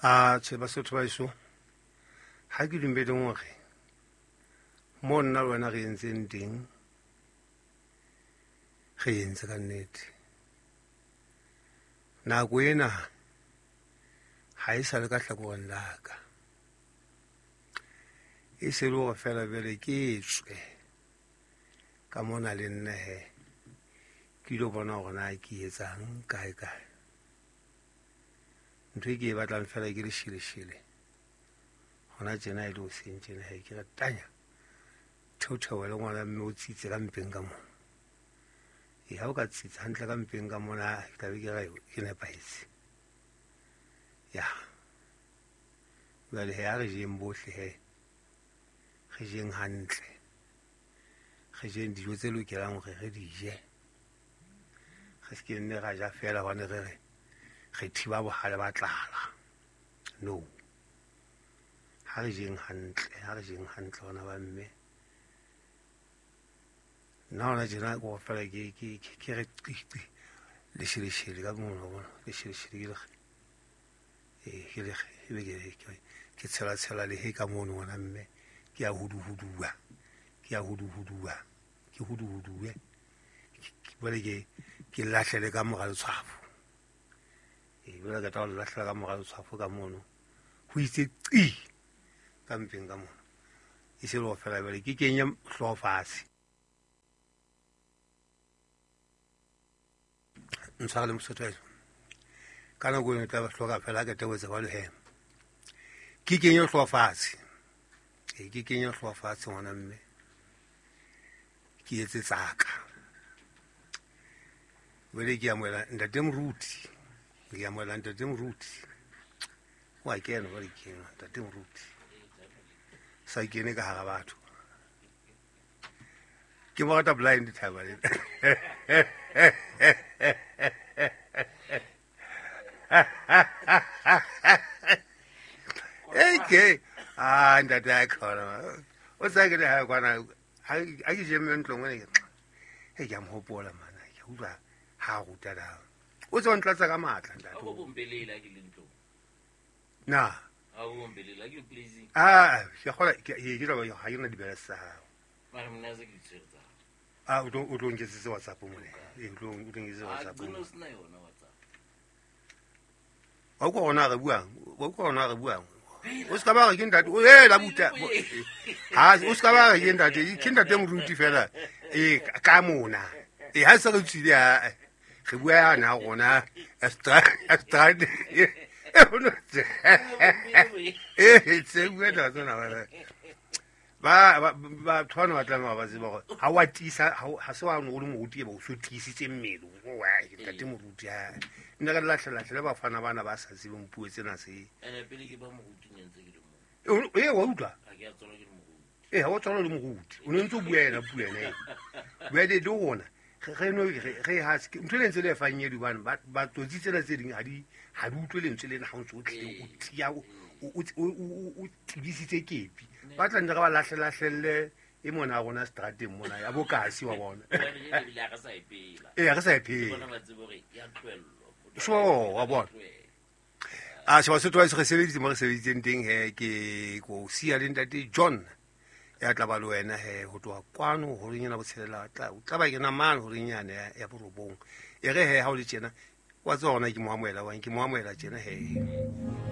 A tjhe, Basotho ba heso, ha ke dumeleng hore mo nna le wena re entseng teng, re entse ka nnete. Nako ena ha e sa le ka hlakoreng la ka, e se le hore feela jwale ke tswe ka mona le nna he, ke ilo bona hore na ke etsang kae kae. Ntho e ke e batlang feela ke lesheleshele hona tjena, e le hoseng tjena he, ke re tanya theotheoele ngwana mme o tsitse ka mpeng ka mona. E ha o ka tsitsa hantle ka mpeng ka mona, ke tla be ke re ke nepahetse. Ya jwale he, ha re jeng bohle he, re jeng hantle, re jeng dijo tse lokelang hore re di je, re se ke nne ra ja feela hobane re re re thiba bohale ba tlala. No, ha re jeng hantle, ha re jeng hantle hona ba mme. Nna hona tjena ke hore feela ke re qiqi lesheleshele ka mona, wa bona, lesheleshele ke lekge, ee ke lekge, ebe ke tshela tshela lehe ka mono ngwana mme, ke ya huduhuduwa, ke ya huduhuduwa, ke huduhuduwe, jwale ke lahlele ka mora letshwafo. Ee, jwale ke tla o lahlela ka mora letshwafo ka mono, ho itse qi ka mpeng ka mona, e se le hore feela jwale ke kenye hlooho fatshe. Ntshware le Mosotho wa heso. Ka nako eno tla hloka feela ke tebotse jwalo he, ke kenye hlooho fatshe. Ee, ke kenye hlooho fatshe ngwana mme, ke etse tsaka. Jwale ke amohela ntate Moruti, ke amohela ntate Moruti. Wa kena jwale ke ena ntate Moruti, sa kene ka hara batho. Ke mo rata blind thaba le. Okay. Ah, ntate a khona. O sa ke le ha kwana ha ke je mme ntlong ngwana ke. Hey, ke a mo hopola mana. Ke utlwa ha ruta da. O tswa ntlatsa ka matla ntate. Ha o bombelele ha ke le ntlong. Na. Ha o bombelele ha ke pleasing. Ah, ke kgola ke ke tla ba ha ke na dibela tsa hao. Mara mna se ke di tshwere tsa hao. Ah, o tlo nketsetse WhatsApp mone. Ee, o tlo nketsetse Ah, WhatsApp. qina o sena yona WhatsApp. Wa utlwa hore na re buang? Wa utlwa hore na re buang? O ska ba re ke ntate, o e la buta. Ha, o ska ba re ke ntate, ke ntate Moruti fela. Ee, ka mona. Ee, ha se re tswile ha re bua yana rona extra extra. Ee, tse bua taba tsena ba. Ba batho bana ba tlameha ba tseba hore ha wa tiisa, ha se wa o le moruti, ebe o so tiisitse mmele. O wa ntate Moruti ha nna ka lahlelahlele bafana bana ba sa tsebeng puo tsena tse. Ene pele ke ba moruti ne ntse ke le mo. Ee, wa utlwa? Ha ke a tswalwa ke le moruti. Ee, ha wa tswalwa le moruti. O ne ntse o bua yena puo ena. Bua le rona. Re no re ha se ntho e ntse le efangedi hobane ba tsotsi tsena tse ding ha di utlwe lentswe lena ha o ntse o tlile o tia o tibisitse kepi. Ba tla nne re ba lahlelahlelle e mona rona strateng mona ya bokasi wa bona. Ebile ha re sa e phela. Ee, ha re sa e phela. Bona ba tsebe hore ya tlohellwa. Sure, wa bona. A se Basotho ba re sebeditse mo re sebeditseng teng he, ke ko siya le ntate John ya tla ba le wena he ho tloha kwano horeng ena botshelela, o tla ba kena mane horeng yane ya borobong. E re he ha o le tjena wa tseba hona ke mo amohela wang, ke mo amohela tjena he.